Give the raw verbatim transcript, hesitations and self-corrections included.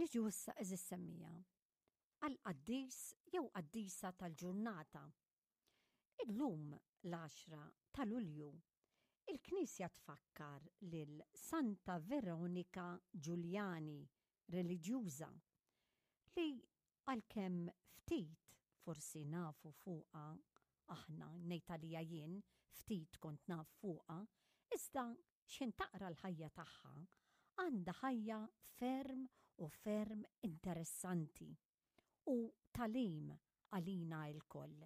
Niġu issa, għeżież semmiegħa, għall-qaddis jew qaddisa tal-ġurnata. Illum, l-għaxra ta' Lulju, il-Knisja tfakkar lil Santa Veronika Giuliani, reliġjuża, li għalkemm ftit forsi nafu fuqha aħna, ngħid għalija jien, ftit kont naf fuqha, iżda x'ħin taqra l-ħajja tagħha, għandha ħajja ferm u ferm interessanti u tagħlim għalina lkoll.